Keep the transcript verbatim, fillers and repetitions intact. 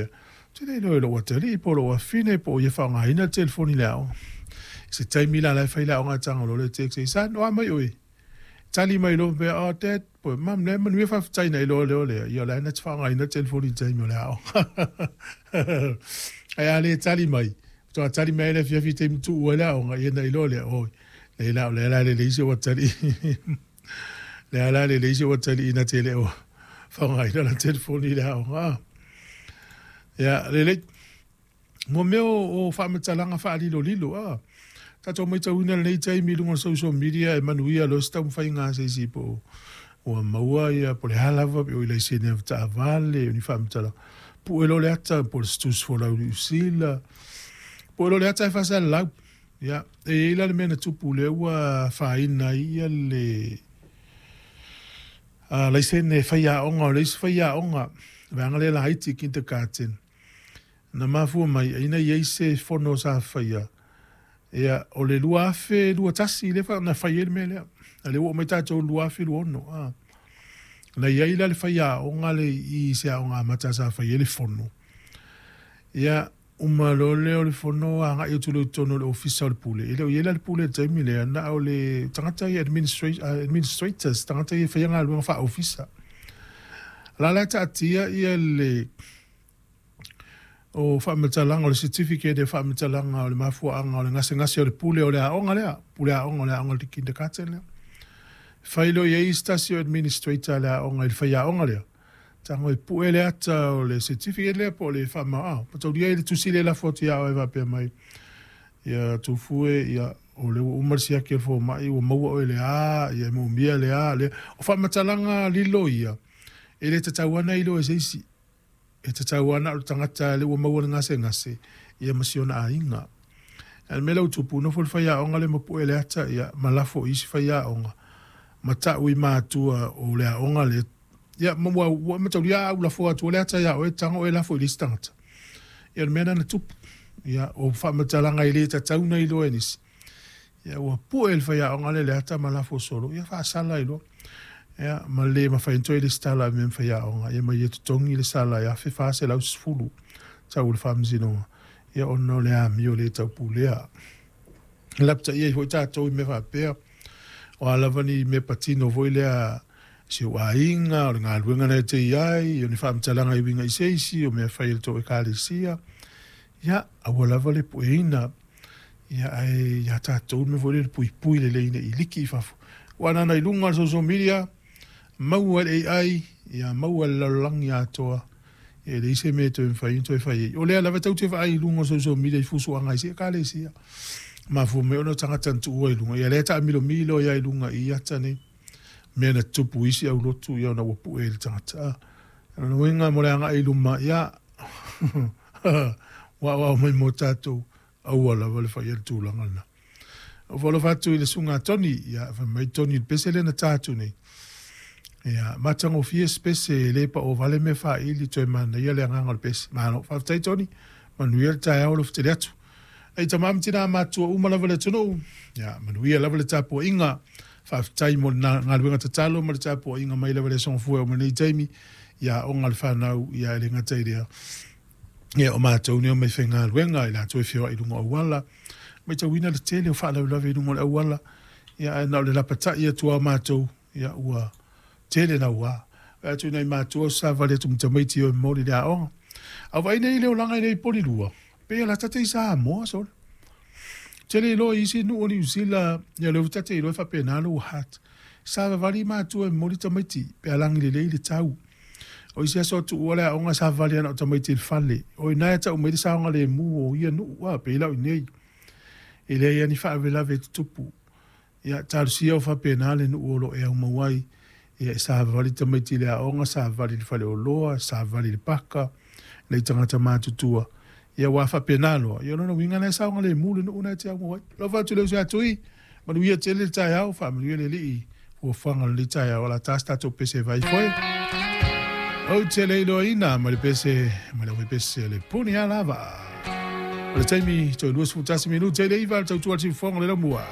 faapea, te le iloa e lou atalii po o lou afine po o ia faaaogaina le telefoni i le aoga. Se taimi la la e fai le aoga e tago loa le text, son, o a mai oe? Tali mai loa faapea, oh dad, po o mum, lea e manuia faafetai na iloa lea o lea, ia o la e na te faaaogaina le telefoni i le taimi o le aoga. Ae a le tali mai, faatoa tali mai ai le afiafi i le taimi tuua ai le aoga, ia na iloa lea, oi, lea la o lea la e lelei si ou atalii. Lea la e lelei si ou atalii na te le o faaaogaina lana telefoni i le aoga. Ia, lelei. Mo mea o, o faamatalaga faalilolilo, a. Tatou matauina lenei taimi i luga o le social media e manuia loa se taumafaiga a se isi po ua maua ia po o le a lava pe o i laisene avetaavale o ni faamatalaga. Pue loa le ata po o le tusi folau i Niu Sila. Pue loa le ata e faasalalau. Ia, e i ai la le mea na tupu lea ua afaina ai ia le uh, laisene faiaoga o le isi faiaoga, vaega lea laiti kindergarten. Na mafua mai aina i ai se fono sa faia. Ia, o le lua afe lua tasi lea fa na fai ai le mea lea. A lea ua oo mai tatou lua afe lua ono. Ah. Na i ai la le faiaoga le i se aoga amata sa fai ai le fono. Ia, uma loa lea o le fono agai atu loa i totonu o le ofisa o le pule. E le o i ai la le pule i le taimi lea, na o le tagata ia administra- administrators, tagata ia e faia galuega faa-ofisa. La la e taatia ia le o faamatalaga o le certificate e faamatalaga o le mafuaaga o le gasegase o le pule o le aoga lea, pule aoga o le aoga o le kindergarten lea. Fai loa i ai se tasi o administrator a le aoga i le faiaoga lea, tago e pue le ata o le certificate lea po o le faama, mataulia ai le tusi lea e lafo atu ia oe faapea mai, ia Tufue, ia o lea ua uma le siaki o le fomai, ua maua oe le a, ia e moomia le a, lea. O faamatalaga lilo ia, e le tatau lava ona iloa e se isi. E tatau lava na o le tagata lea ua maua le gasegase, ia ma si ona aiga. A o le mea lea ua tupu, nofo le faiaoga lea ma pue le ata, ia, ma lafo i isi faiaoga, ma tau i matua o le aoga lea. Ia, ma ua, ua mataulia a au lafo atu le ata ia oe, tago oe lafo i le isi tagata. Ia, o le mea lena na tupu. Ia, o faamatalaga e le tatau ona iloa e nisi. Ia, ua pue le faiaoga lea le ata ma lafo solo, ia faasala ai loa. Ia, ma le mafai ona toe lesitala e mea ma faiaoga, ia ma ia totogi le sala e afe fa selau sefulu tau o le faamasinoga, ia ona o le amio le taupulea. Lapataia ai foi tatou i mea faapea, o a lava ni mea patino foi lea si ou aiga, o le galuega na e te i ai, o ni faamatalaga e uiga i se isi, o mea fai e le tou ekalesia, ia, aua lava le pueina, ia, ae ia tatou le mea foi lea le puipui lelei ina i liki i fafo. Ua anana i luga o le social media, maua e le A I, ia maua e le lalolagi atoa, e leai se mea e toe mafai ona toe fai ai. O lea lava e tatou te vaai i luga o social media i fusuaga i isi ekalesia. Mafua mai ona o tagata na tuua i luga, ia lea e taamilomilo ia i luga i ata nei. Mea na tutupu i isi aulotu, ia ona ua pue i le tagata. O lona uiga mo le agai i luma, ia, ua aoao mai mo tatou, aua lava le faia le tulaga lena. O faalofa atu i le susuga a Tony, ia, fai mai Tony i le pese lea na ta atu nei. Ia, matagofie se pese, e le pao vale mea faaili, toe manaia le agaga o le pese. Malo, faafetai Tony, manuia le taeao alofa tele atu. Ei tama ma tina matua uma lava le atunuu, ia, manuia lava le tapuaiga. Faafetai mo le galuega tatalo ma le tapuaiga mai lava le aso Gafua e oo mai lenei taimi, ia aoga le fanau, ia e le gata i lea. Ia o matou nei o mai faigaluega i latou e feoai i luga o auala, matauina le tele o faalavelave i luga o le auala, ia ae na o le lapatai atu lava o matou, ia ua tele naua. Vaai atu i nai matua o savavali atu ma tamaiti o e momoli i le aoga. A o vaai nei i le olaga i nei poli lua, pei e lata te i Samoa sole. Tele iloa i isi nuu o Niu Sila, ia lea ua tate iloa e faapena lou heart. Savavali matua e momoli tamaiti, pe a lagi lelei le tau. O isi aso tuua le aoga savavali ana o tamaiti i le fale. O ina e tau mai le saogalemu o ia nuu, a, pei lau i nei. E leai lava ni faalavelave e tutupu. Ia, talosia o faapena le nuu o lo o e aumau ai. Ia, e savavali tamaiti i le aoga, savavali i le faleoloa, savavali i le paka, nei tagata matutua. Ia, ua faapena loa. Ia, o lona uiga na e saogalemu le nuu na e te aumau ai. Alofa atu i le uso ia Tui, manuia tele le taeao, faamanuia le Alii, fuafuaga o lenei taeao, o le a ta se tatou pese e vai foe. Ou te le iloaina ma le pese, ma le pese le puni a lava. O le taimi, toe luasefulu tasi minute i le iva, le tautua le siufofoga o le laumua.